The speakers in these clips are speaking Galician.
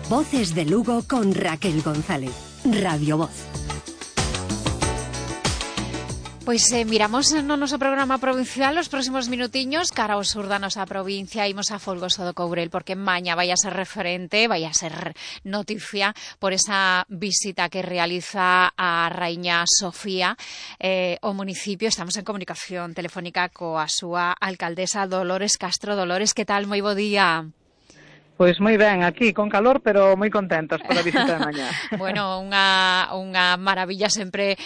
Voces de Lugo con Raquel González. Radio Voz. Pois miramos no noso programa provincial os próximos minutiños cara ao sur da nosa provincia. Imos a Folgoso do Courel porque maña vai a ser referente, vai a ser noticia por esa visita que realiza a Raíña Sofía ao municipio. Estamos en comunicación telefónica coa súa alcaldesa Dolores Castro. Dolores, que tal? Moi bo día. Pois moi ben, aquí con calor, pero moi contentos pola visita de mañá. Bueno, unha maravilla sempre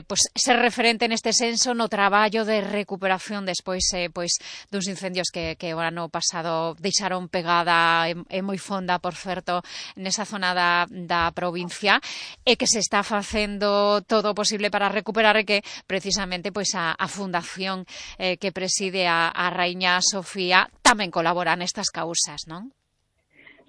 pois ser referente neste senso no traballo de recuperación despois pois dos incendios que o ano pasado deixaron pegada e moi fonda, por certo, nesa zona da provincia, e que se está facendo todo o posible para recuperar, e que precisamente pois a fundación que preside a Raíña Sofía tamén colabora nestas causas, non?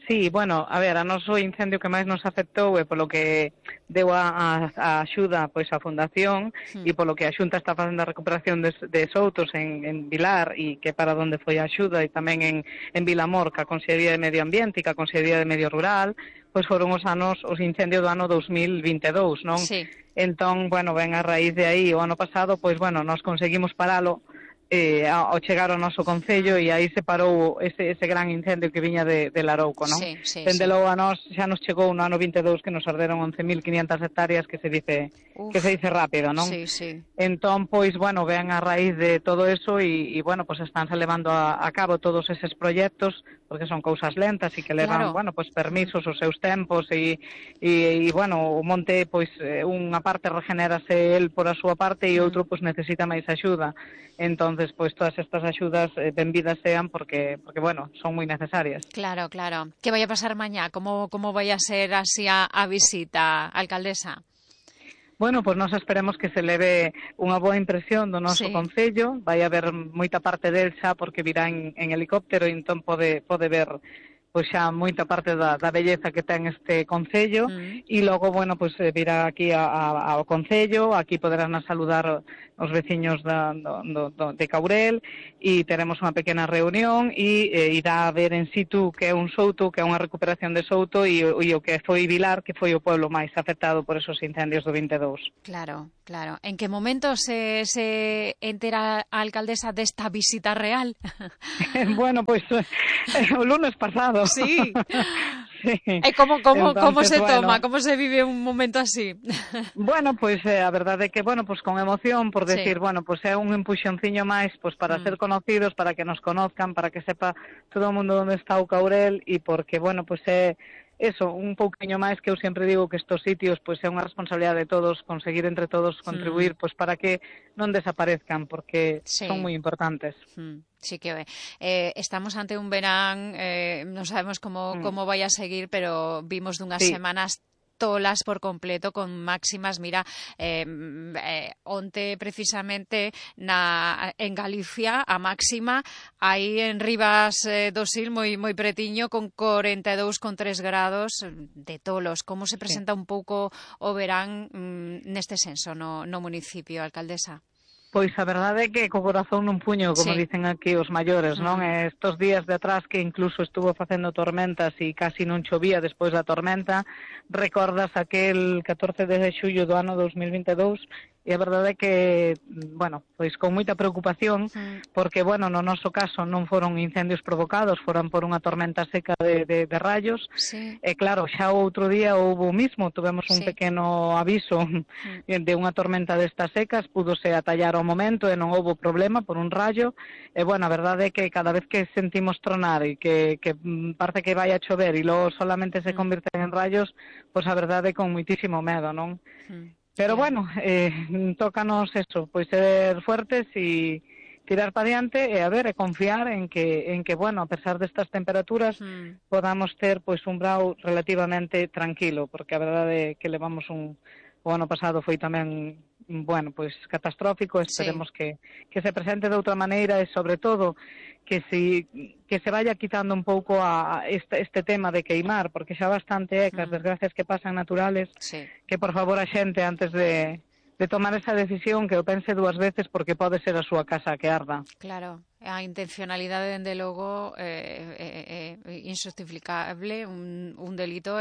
Sí, bueno, a ver, a noso incendio que máis nos afectou e polo que deu a axuda pois a Fundación e polo que a Xunta está facendo a recuperación de soutos en Vilar e que para onde foi a axuda, e tamén en Vilamor, que a Consellería de Medio Ambiente e que a Consellería de Medio Rural, pois foron os incendios do ano 2022, non? Sí. Entón, bueno, ben a raíz de aí o ano pasado, pois bueno, nos conseguimos paralo ao chegar ao noso concello, e aí se parou ese gran incendio que viña de Larouco, non? Sí. Dende logo a nós xa nos chegou no ano 22 que nos arderon 11.500 hectáreas, que se dice rápido, non? Sí. Entón, pois, bueno, ven a raíz de todo eso e bueno, pois estánse levando a cabo todos eses proxectos, porque son cousas lentas e que levan, bueno, pois permisos os seus tempos e bueno, o monte, pois, unha parte regenérase el por a súa parte e outro, pois, necesita máis axuda. Entonces, pois todas estas axudas benvidas sean porque bueno, son moi necesarias. Claro. Que vai a pasar mañá? Como vai a ser así a visita, alcaldesa? Bueno, pois nós esperemos que se leve unha boa impresión do noso concello. Vai haber moita parte del xa porque virá en helicóptero, e entón pode ver pois xa moita parte da belleza que ten este concello, e logo, bueno, pois virá aquí ao concello, aquí poderán saludar os veciños de Courel, e teremos unha pequena reunión e irá a ver en situ que é un souto, que é unha recuperación de souto, e o que foi Vilar, que foi o pueblo máis afectado por esos incendios do 22. Claro. En que momento se entera a alcaldesa desta visita real? Bueno, pois o lunes pasado. Sí. Sí. E como Entonces, se toma, bueno, como se vive un momento así? Bueno, pois a verdade é que, bueno, pois con emoción, por decir, bueno, pois é un empuxonciño máis, pois para ser conocidos, para que nos conozcan, para que sepa todo o mundo onde está o Courel, e porque, bueno, pois é eso, un pouquiño máis, que eu sempre digo que estos sitios pois é unha responsabilidade de todos, conseguir entre todos contribuir pois para que non desaparezcan, porque son moi importantes. Sí que estamos ante un verán, non sabemos como vai a seguir, pero vimos dunhas semanas tolas por completo, con máximas, mira, onte precisamente en Galicia a máxima aí en Rivas do Sil moi pretiño, con 42,3 grados de tolos. Como se presenta un pouco o verán neste senso no municipio, alcaldesa? Pois a verdade é que co corazón nun puño, como dicen aquí os maiores, non? Estos días de atrás que incluso estuvo facendo tormentas e casi non chovía despois da tormenta, recordas aquel 14 de xullo do ano 2022, e a verdade é que, bueno, pois con moita preocupación, porque, bueno, no noso caso non foron incendios provocados, foran por unha tormenta seca de rayos, e claro, xa o outro día houve o mismo, tuvemos un pequeno aviso de unha tormenta destas secas, púdose atallar ao momento e non houve problema por un rayo, e, bueno, a verdade é que cada vez que sentimos tronar e que parece que vai a chover e logo solamente se convirten en rayos, pois a verdade é con moitísimo medo, non? Pero, bueno, tócanos eso, pois ser fuertes e tirar para diante e a ver, e confiar en que, bueno, a pesar destas temperaturas, podamos ter pois un brao relativamente tranquilo, porque a verdade é que levamos o ano pasado foi tamén, bueno, pois catastrófico. Esperemos que se presente de outra maneira, e sobre todo que se vaya quitando un pouco este tema de queimar, porque xa bastante as desgracias que pasan naturales, que por favor a xente antes de tomar esa decisión, que o pense dúas veces, porque pode ser a súa casa que arda. Claro, a intencionalidade, dende logo, injustificable, un delito,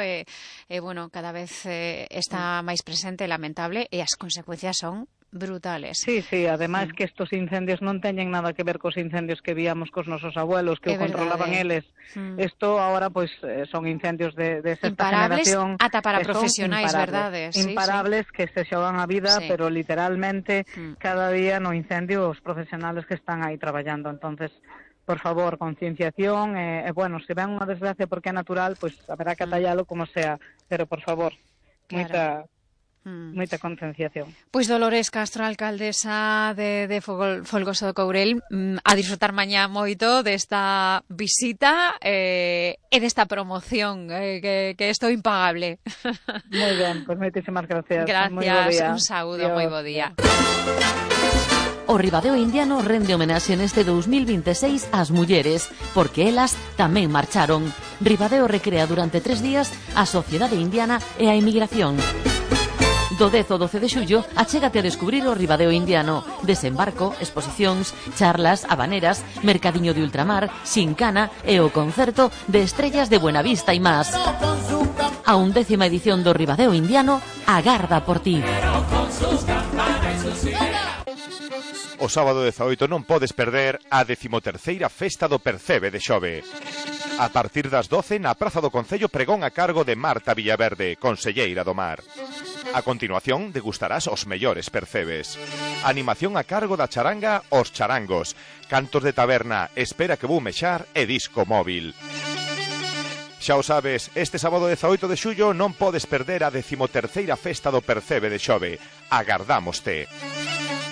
bueno, cada vez está máis presente, lamentable, e as consecuencias son brutales. Sí, ademais que estos incendios non teñen nada que ver cos incendios que víamos cos nosos abuelos, que o controlaban eles. Isto agora, pois, son incendios de sexta generación. Ata para profesionais, verdade? Imparables, que se xogan a vida, pero literalmente cada día no incendio os profesionales que están aí traballando. Entonces, por favor, concienciación, bueno, se ven unha desgracia porque é natural, pois haberá que atallalo como sea, pero por favor, moita concienciación. Pois Dolores Castro, alcaldesa de Folgoso do Courel, a disfrutar mañá moito desta visita e desta promoción, que isto é impagable. Moi ben, pois moitísimas gracias. Gracias, un saúdo, moi bo día. O Ribadeo Indiano rende homenaxe neste 2026 ás mulleres, porque elas tamén marcharon. Ribadeo recrea durante 3 días a sociedade indiana e a emigración. Do 10 ao 12 de xullo, achégate a descubrir o Ribadeo Indiano. Desembarco, exposicións, charlas, habaneras, mercadiño de ultramar, xincana e o concerto de estrellas de Buenavista e más. A 11ª edición do Ribadeo Indiano agarda por ti. O sábado 18 non podes perder a 13ª Festa do Percebe de Xove. A partir das 12 na Praza do Concello, pregón a cargo de Marta Villaverde, conselleira do Mar. A continuación degustarás os mellores percebes. Animación a cargo da charanga Os Charangos. Cantos de taberna, Espera que vou mexar e disco móvil. Xa o sabes, este sábado 18 de xullo non podes perder a 13ª Festa do Percebe de Xove. Agardámoste.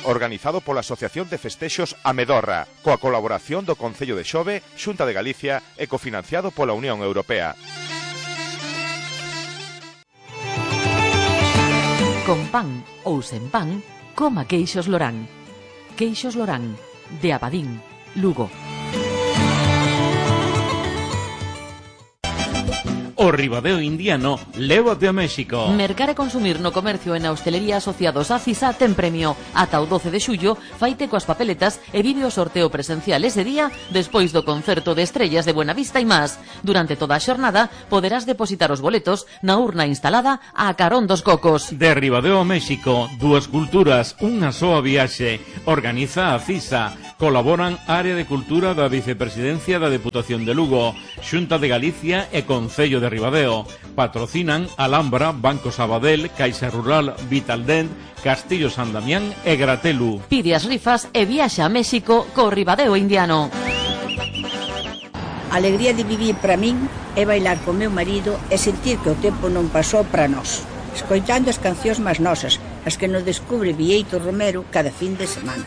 Organizado pola Asociación de Festexos Amedorra, coa colaboración do Concello de Xove, Xunta de Galicia e cofinanciado pola Unión Europea. Con pan ou sen pan, coma queixos Lorán. Queixos Lorán, de Abadín, Lugo. O Ribadeo Indiano lévate a México. Mercar e consumir no comercio e na hostelería asociados a CISA ten premio. Ata o 12 de xullo, faite coas papeletas e vive o sorteo presencial ese día despois do concerto de estrellas de Buenavista e más. Durante toda a xornada poderás depositar os boletos na urna instalada a carón dos cocos. De Ribadeo a México, dúas culturas, unha soa viaxe. Organiza a CISA. Colaboran Área de Cultura da Vicepresidencia da Deputación de Lugo, Xunta de Galicia e Concello de Ribadeo. Patrocinan Alhambra, Banco Sabadell, Caixa Rural, Vitaldent, Castillo San Damián e Gratelu. Pide as rifas e viaxa a México co Ribadeo Indiano. A alegría de vivir para min é bailar co meu marido e sentir que o tempo non pasou para nós, escoitando as cancións máis nosas, as que nos descubre Bieito Romero cada fin de semana.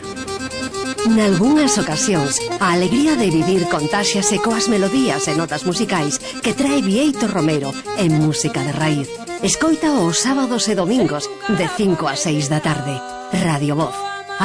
Nalgúnas ocasións, a alegría de vivir contáxiase coas melodías e notas musicais que trae Bieito Romero en música de raíz. Escoita os sábados e domingos de 5 a 6 da tarde. Radio Voz.